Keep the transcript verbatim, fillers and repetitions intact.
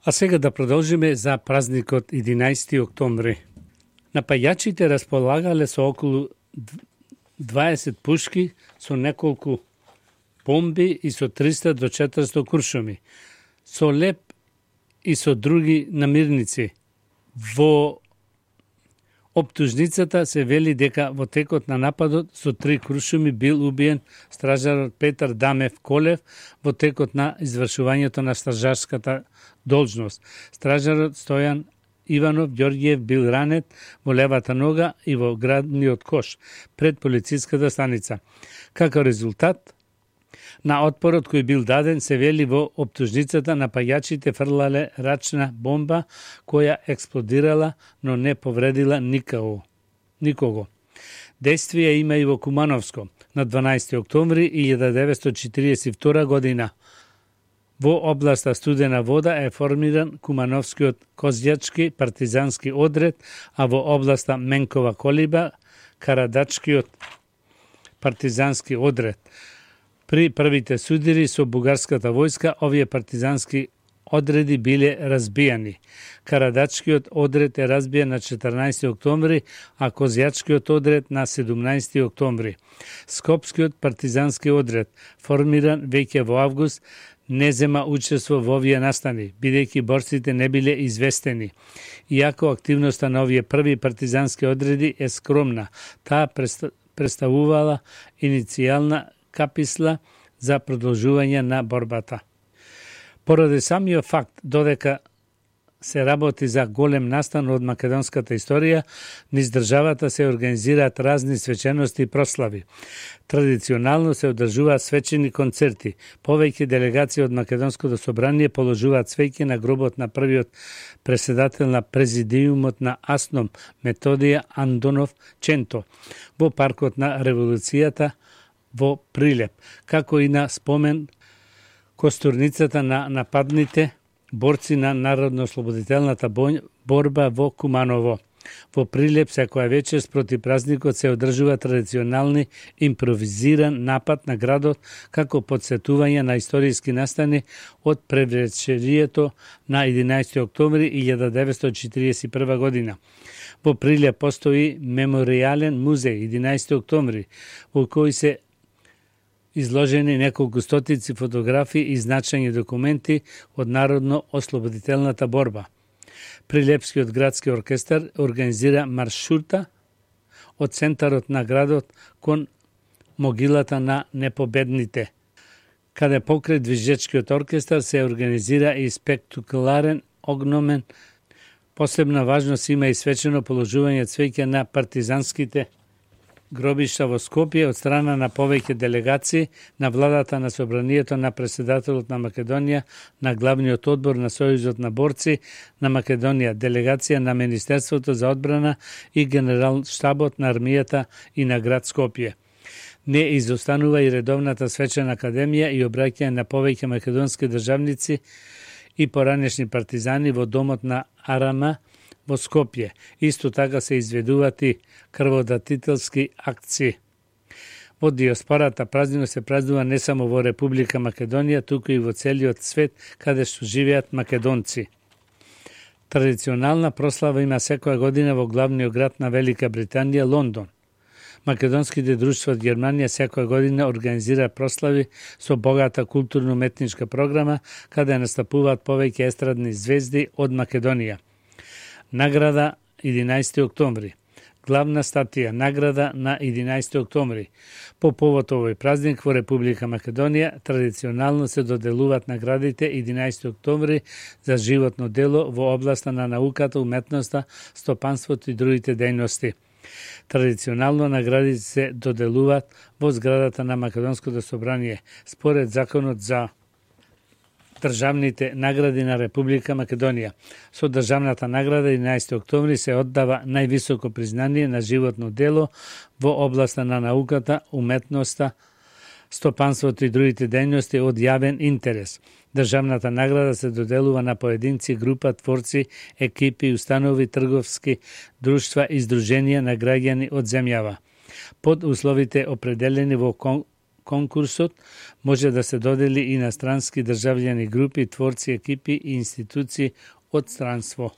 А сега да продолжиме за празникот единаесети октомври. Напајачите располагале со околу дваесет пушки, со неколку бомби и со триста до четиристо куршуми, со леп и со други намирници. Во оптужницата се вели дека во текот на нападот со три куршуми бил убиен стражарот Петар Дамев Колев во текот на извршувањето на стражарската должност. Стражарот Стојан Иванов Ѓорѓиев бил ранет во левата нога и во градниот кош пред полициската станица. Како резултат на отпорот кој бил даден, се вели во оптужницата напајачите фрлале рачна бомба која експлодирала, но не повредила никого. никого. Действија има и во Кумановско на дванаесети октомври илјада деветстотини четиридесет и втора година. Во областа Студена вода е формиран Кумановскиот козјачки партизански одред, а во областа Менкова Колиба Карадачкиот партизански одред. При првите судири со бугарската војска, овие партизански одреди биле разбијани. Карадачкиот одред е разбиен на четрнаесети октомври, а Козјачкиот одред на седумнаесети октомври. Скопскиот партизански одред, формиран веќе во август, не зема учество во овие настани, бидејќи борците не биле известени. Иако активноста на овие први партизански одреди е скромна, таа представувала иницијална каписла за продолжување на борбата. Поради самиот факт додека се работи за голем настан од македонската историја, низ државата се организираат разни свечености и прослави. Традиционално се одржуваат свечени концерти. Повеќе делегации од Македонското собрание положуваат свеќи на гробот на првиот преседател на президиумот на АСНОМ Методија Андонов Ченто во паркот на Револуцијата во Прилеп, како и на спомен костурницата на нападните борци на Народно-ослободителната борба во Куманово. Во Прилеп секоја вечер спроти празникот се одржува традиционални импровизиран напад на градот како подсетување на историски настани од превечерието на единаесети октомври илјада деветстотини четиридесет и прва година. Во Прилеп постои меморијален музеј единаесети октомври, во кој се изложени неколку стотици фотографии и значајни документи од Народно-ослободителната борба. Прилепскиот градски оркестар организира маршрута од центарот на градот кон могилата на непобедните, каде покрај движечкиот оркестар се организира и спектакуларен огномен. Посебна важност има и свечено положување цвеќе на партизанските гробишта во Скопје од страна на повеќе делегации на владата на собранието на преседателот на Македонија, на главниот одбор на Сојузот на борци на Македонија, делегација на Министерството за одбрана и генерал штабот на армијата и на град Скопје. Не изостанува и редовната свечена академија и обраќање на повеќе македонски државници и поранешни партизани во домот на Арама во Скопје. Исто така се изведуваат и крводатителски акции. Во диаспората празникот се празнува не само во Република Македонија, туку и во целиот свет каде што живеат македонци. Традиционална прослава има секоја година во главниот град на Велика Британија, Лондон. Македонските друштва од Германија секоја година организира прослави со богата културно-уметничка програма, каде настапуваат повеќе естрадни звезди од Македонија. Награда единаесети октомври. Главна статија награда на единаесети октомври. По повод овој празник во Република Македонија традиционално се доделуваат наградите единаесети октомври за животно дело во областа на науката, уметноста, стопанството и другите дејности. Традиционално наградите се доделуваат во зградата на Македонското собрание според законот за државните награди на Република Македонија. Со државната награда единаесети октомври се оддава највисоко признание на животно дело во областа на науката, уметноста, стопанството и другите дејности од јавен интерес. Државната награда се доделува на поединци, група, творци, екипи, установи, трговски друштва и здруженија на граѓани од земјава, под условите определени во кон конкурсот може да се додели и на странски државјани, групи, творци, екипи и институции од странство.